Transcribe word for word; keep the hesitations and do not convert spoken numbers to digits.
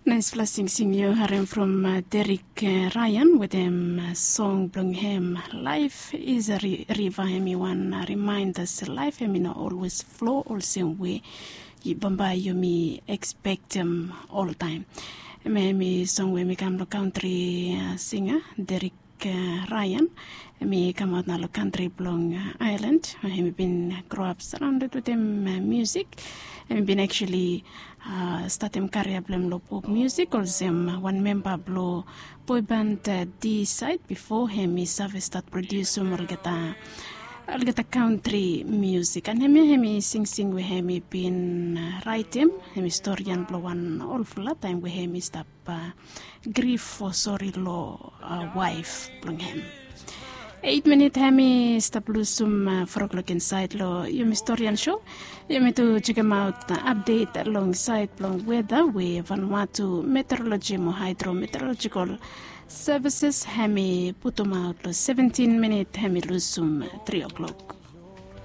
Naispela singsing yu harim from Derik Ryan wetem song bilong hem, Life is a River. Hem i wan rimainda se laif hem i no olwes flo olsem we bambae yumi ekspektem oltaim. Em hem i song we hem i kam long kantri singa Derik Ryan. Hem i kamaut na long kantri bilong Ailan. Hem i bin groap saraunded wetem musik. Hem i bin actually statim karia bilong hem long pop musik olsem wan memba bilong boiband D sait bipo hem i save stat prodiusim olgeta olgeta kantri musik. An hem ya hem i singsing we hem i bin raitim, hem i storian bilong wan olfala taim we hem i stap grif o sori long waif bilong hem. Eit minit hem i stap lusim fo klok insait long yumi storian sho. Yumi tu jekemaut apdet long sait bilong weda we Vanuatu Meteorologi mo Haidrometeorologikal Sevises hem i putumaut long seventin minit hem i lusim tri klok.